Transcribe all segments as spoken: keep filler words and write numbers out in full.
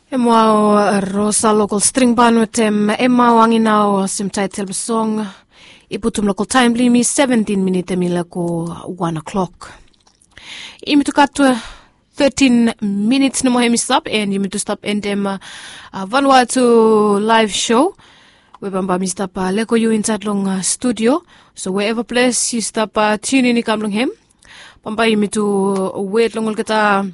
Em wao Rosa Lokol Stringban wetem Emma Wanginao olsem taetel blong song. I putum lokol taem blong yumi seventin minit em i laek go wan o'klok. Yumi tu gat tetin minits nomo hem i stap and yumi tu stap endem Vanuatu live show. We bambae mi stap lego yu insaed long studio. So wherever ples yu stap tunin i kam long hem, bambae yumi tu wet long olgeta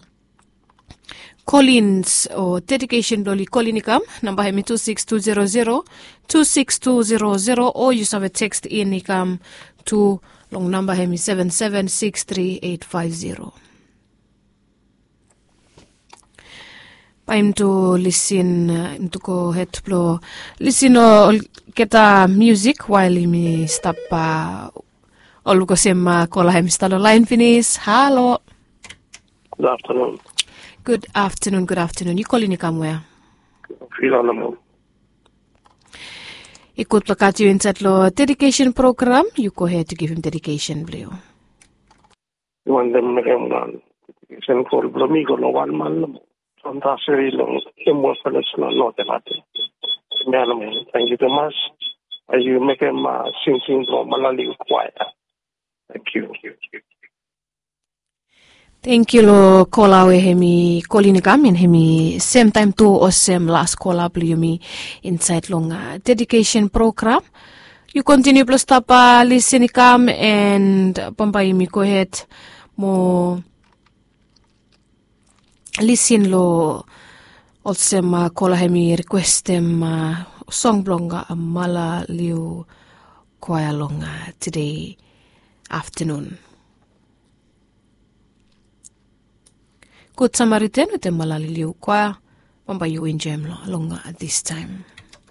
kolins o dedikesen blong oli kolin i kam. Namba hem i tu siks tu zero zero tu siks tu zero zero o yu save tekst in i kam tu long namba hem i seven seven six three eight five zero. Bae yumi tu lisin, yumi tu gohed blong lisin olgeta musik wael yumi stap ol luk olsem kola hem i stap long laen finis. Halo. Gud aftenun. Gud aftenun, gud aftenun. Yu kolin i kam wea? Fila nomo. I gud blong gat yu insaed long dedikesen program. Yu gohed yu givim dedikesen blong yu. Yu wantem mekem wan dedikesen kol blong mi go long wan man nomo. From Taseri long Emua Kolej long North Elate. Mia nomo. Tangkiu tumas. Bae yu mekem singing blong Malaliu kwaea. Tangkiu. Tangkiu long kola we hem i kolin i kam and hem i semtaem tu olsem las kola blong yumi insaed long dedikesen program. Yu kontiniu blong stap lisin i kam and bambae yumi gohed mo lisin long olsem kola hem i rikwestem song blong Malaliu kwaea long tede aftenun. Gud Samaritan wetem Malaliu kwaea. Bambae yu enjoem long distaem.